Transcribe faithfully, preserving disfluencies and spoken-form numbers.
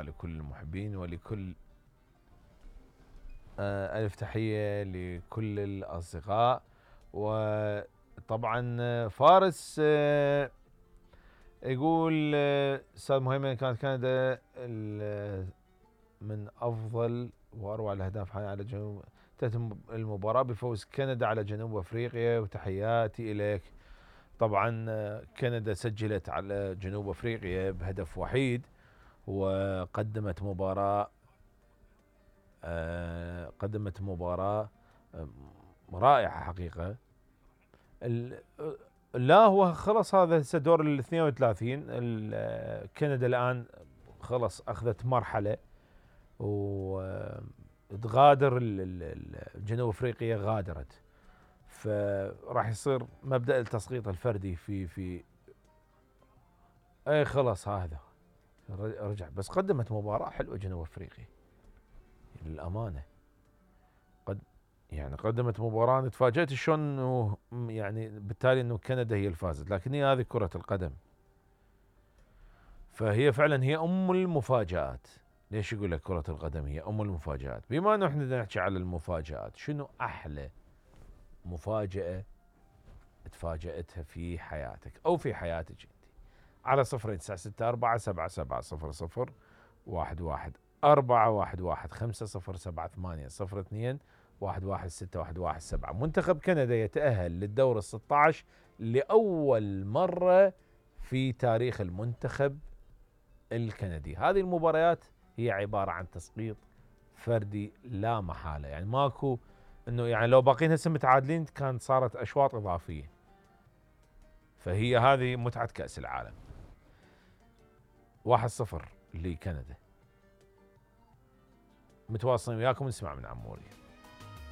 المباراة لكل المحبين ولكل آه ألف تحية لكل الأصدقاء. وطبعا فارس آه يقول أستاذ مهيمن كانت كندا من أفضل وأروع الأهداف على جنوب تتم المباراة بفوز كندا على جنوب أفريقيا وتحياتي إليك. طبعا كندا سجلت على جنوب أفريقيا بهدف وحيد وقدمت مباراة قدمت مباراة رائعة حقيقة. لا هو خلص هذا هسه دور ال اثنين وثلاثين. كندا الآن خلص أخذت مرحلة وتغادر جنوب أفريقيا غادرت، فراح يصير مبدأ التسقيط الفردي في في اي خلص هذا رجع. بس قدمت مباراة حلوة جنوب أفريقيا للأمانة، قد يعني قدمت مباراة أنا تفاجأت شلون انه يعني بالتالي انه كندا هي الفازت، لكن هي هذه كرة القدم، فهي فعلا هي ام المفاجآت. ليش يقول لك كرة القدم هي ام المفاجآت؟ بما انه احنا نحكي على المفاجآت، شنو احلى مفاجأة تفاجأتها في حياتك او في حياتك انت؟ على صفر تسعة ستة أربعة سبعة سبعة صفر صفر واحد واحد أربعة واحد واحد خمسة صفر سبعة ثمانية صفر اثنين واحد واحد ستة واحد واحد سبعة. منتخب كندا يتأهل للدور الستة عشر لأول مرة في تاريخ المنتخب الكندي. هذه المباريات هي عبارة عن تسقيط فردي لا محالة، يعني ماكو انه يعني لو باقين هسه متعادلين كان صارت اشواط اضافية. فهي هذه متعة كأس العالم. واحد صفر لكندا. متواصلين وياكم نسمع من عموري.